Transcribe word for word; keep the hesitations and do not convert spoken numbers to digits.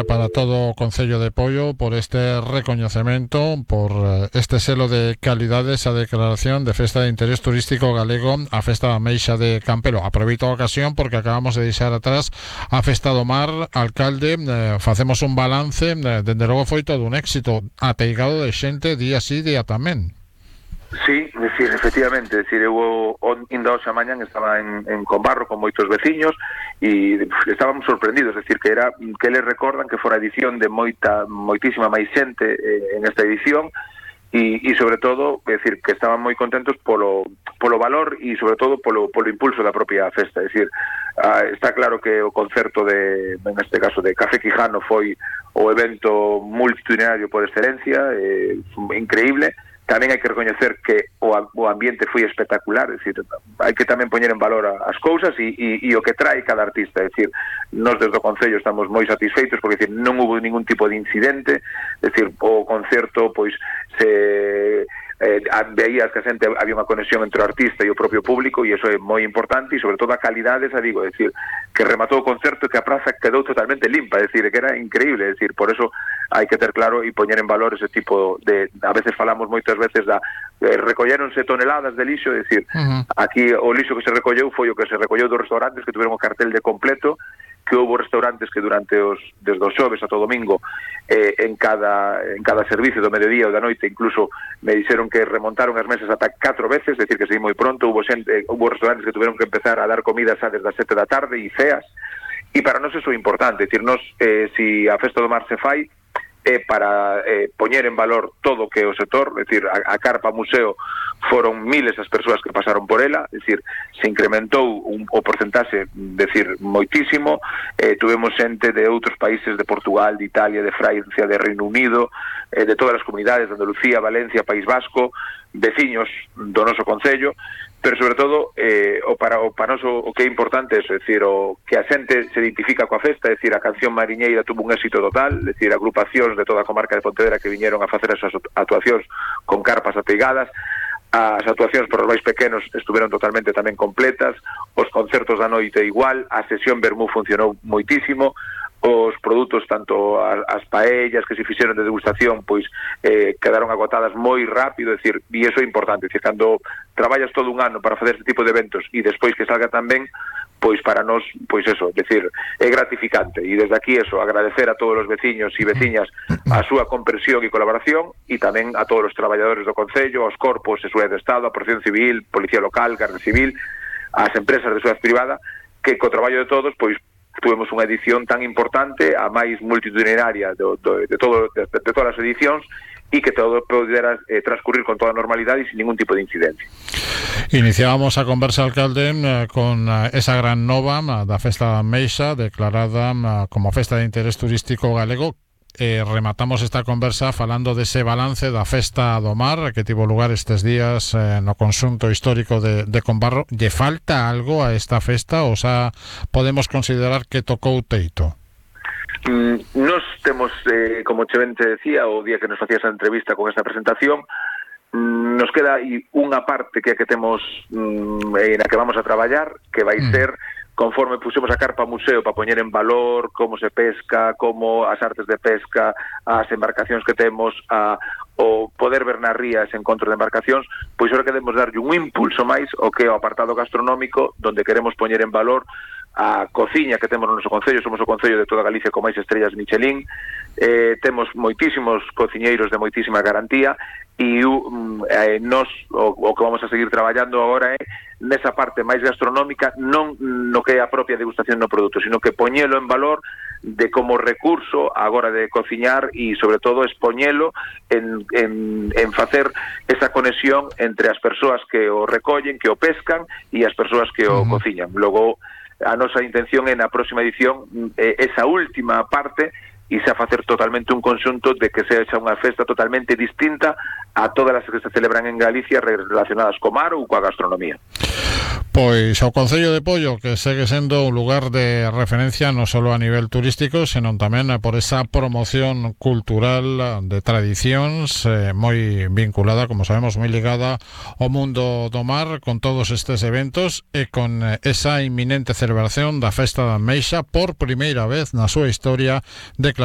Para todo o Concello de Poio por este recoñecemento, por este selo de calidades, a declaración de Festa de Interés Turístico Galego, a Festa da Meixa de Campelo. Aproveito a ocasión porque acabamos de deixar atrás a Festa do Mar. Alcalde, eh, facemos un balance, eh, dende logo foi todo un éxito, ateigado de xente día sí, día tamén. Sí, decir, efectivamente, decir, eu indo hoxe a mañan estaba en, en Combarro con moitos veciños e estábamos sorprendidos, decir, que era que eles recordan que fora edición de moita moitísima máis xente eh, en esta edición e, e sobre todo, decir, que estaban moi contentos polo, polo valor e sobre todo polo, polo impulso da propia festa, decir, ah, está claro que o concerto de, en este caso de Café Quijano foi o evento multitudinario por excelencia, eh, increíble. Tamén hai que recoñecer que o, o ambiente foi espectacular, é dicir, hai que tamén poñer en valor a, as cousas e, e, e o que trae cada artista, é dicir, nós desde o Concello estamos moi satisfeitos porque, é dicir, non hubo ningún tipo de incidente, é dicir, o concerto, pois, se eh, veías que a xente había unha conexión entre o artista e o propio público e iso é moi importante e sobre todo a calidade, xa digo, é dicir, que rematou o concerto e que a praza quedou totalmente limpa, é dicir, que era increíble, é dicir, por eso hai que ter claro e poñer en valor ese tipo de, a veces falamos moitas veces da, eh, recolleronse toneladas de lixo, é dicir, uh-huh. Aquí o lixo que se recolleu foi o que se recolleu dos restaurantes que tuveron o cartel de completo, que houve restaurantes que durante os desde os xoves ata o domingo eh, en cada en cada servicio do mediodía ou da noite incluso me dixeron que remontaron as mesas ata catro veces, é dicir que seguí moi pronto, houve xente, houve restaurantes que tuveron que empezar a dar comida xa desde as sete da tarde e ceas, e para nós eso é importante, é dicir, nós eh, si a Festa do Mar se fai é para eh, poñer en valor todo o que é o sector, é dicir, a, a Carpa Museo foron miles as persoas que pasaron por ela, é dicir, se incrementou un, o porcentaxe, decir, moitísimo, eh, tuvemos xente de outros países, de Portugal, de Italia, de Francia, de Reino Unido, eh, de todas as comunidades, de Andalucía, Valencia, País Vasco, veciños do noso Concello, pero sobre todo eh, o para o para noso o que é importante é, é dicir, o que a xente se identifica coa festa, é dicir, a canción mariñeira tuvo un éxito total, é dicir, agrupacións de toda a comarca de Pontevedra que viñeron a facer as súas actuacións con carpas ateigadas, as actuacións por os máis pequenos estuveron totalmente tamén completas, os concertos da noite igual, a sesión Vermú funcionou moitísimo, os produtos, tanto as paellas que se fixeron de degustación, pois eh, quedaron agotadas moi rápido, é dicir, e iso é importante, é dicir, cando traballas todo un ano para facer este tipo de eventos e despois que salga tan ben, pois para nós, pois eso, decir, é gratificante, e desde aquí eso, agradecer a todos os veciños e veciñas a súa comprensión e colaboración, e tamén a todos os traballadores do Concello, aos corpos e seguridade do Estado, a Protección Civil, Policía Local, Garda Civil, ás empresas de seguridade privada, que co traballo de todos, pois tuvemos unha edición tan importante, a máis multitudinaria do, do, de, todo, de, de todas as edicións, e que todo pudera eh, transcurrir con toda normalidade e sin ningún tipo de incidencia. Iniciábamos a conversa, alcalde, eh, con eh, esa gran nova eh, da Festa da Meixa, declarada eh, como Festa de Interés Turístico Galego. Eh, rematamos esta conversa falando dese balance da Festa do Mar que tivo lugar estes días eh, no conxunto histórico de, de Combarro. Lle falta algo a esta festa ou xa podemos considerar que tocou teito? Mm, nos temos, eh, como Chevente decía, o día que nos facía esa entrevista con esta presentación, mm, nos queda aí unha parte que é que temos mm, na que vamos a traballar, que vai mm. ser conforme pusemos a Carpa Museo para poñer en valor como se pesca, como as artes de pesca, as embarcacións que temos, a, o poder ver nas rías encontros de embarcacións, pois ahora queremos darlle un impulso máis ao que é o apartado gastronómico, donde queremos poñer en valor a cociña que temos no noso Concello. Somos o Concello de toda Galicia con máis estrellas Michelin, eh, temos moitísimos cociñeiros de moitísima garantía, e um, eh, nos o, o que vamos a seguir traballando agora é nesa parte máis gastronómica, non no que é a propia degustación no produto, sino que poñelo en valor de como recurso agora de cociñar e sobre todo expoñelo en, en, en facer esa conexión entre as persoas que o recollen, que o pescan e as persoas que o uh-huh. cociñan. Logo, a nosa intención é na próxima edición eh, esa última parte e xa facer totalmente un conxunto de que sexa unha festa totalmente distinta a todas as que se celebran en Galicia relacionadas co mar ou coa gastronomía. Pois o Concello de Pollo, que segue sendo un lugar de referencia non só a nivel turístico, senón tamén por esa promoción cultural de tradicións eh, moi vinculada, como sabemos, moi ligada ao mundo do mar, con todos estes eventos e con esa inminente celebración da Festa da Meixa por primeira vez na súa historia declarada